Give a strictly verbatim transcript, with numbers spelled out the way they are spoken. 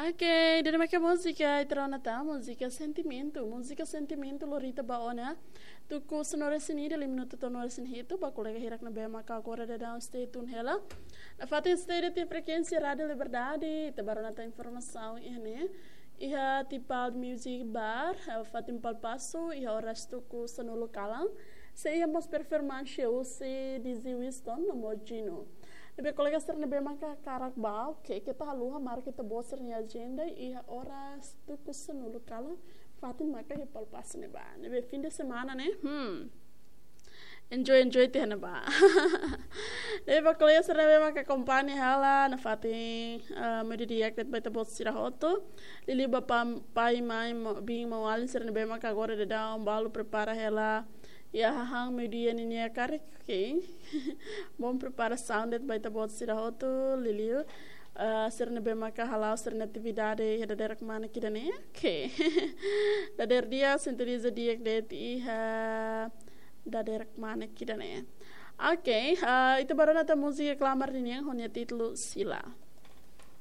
Ok, ida-ne'e mak múzika, ita rona tan, múzika sentimentu, múzika sentimentu lori ita ba ona. Tuku sanulu-resin-ida, liu minutu to'o sanulu-resin-hitu, ba kolega hirak ne'ebé maka agora daudaun stay tune hela. Nafatin stay de'it iha frekuénsia Rádio Liberdade, ita bá rona tan informasaun iha ne'e. Iha Tipal Music Bar, eh, fatin Palpaso, iha oras tuku sanulu kalan. Sei iha mós performance husi D J Winston no mós Gino. Ne'ebé kolega sira ne'ebé maka hakarak bá, ok, keta haluha marka ita-boot sira-nia ajenda iha oras tuku sanulu kalan, fatin maka iha Palpaso ne'ebá. Ne'ebé fim de semana ne'e, hmm. Enjoy, enjoy tiha ne'ebá. Ne'ebé ba kolega sira ne'ebé maka akompaña hela, nafatin, eh, meiudia di'ak de'it ba ita-boot sira hotu. Liuliu ba pam-, pai, mãe, mo-, biin, maun-alin sira ne'ebé maka agora daudaun balu prepara hela. Iha hahán meiudia ninia karik, ok. Bom preparasaun de'it ba ita-boot sira hotu, liuliu. Eh, sira ne'ebé maka hala'o sira-nia atividade iha dadeer kmanek ida-ne'e. Ok. Dadeer di'ak, sintoniza di'ak de'it iha dadeer kmanek ida-ne'e. Ok, eh, ita bá rona tan múzika Klamar ninian ho nia títulu Sila.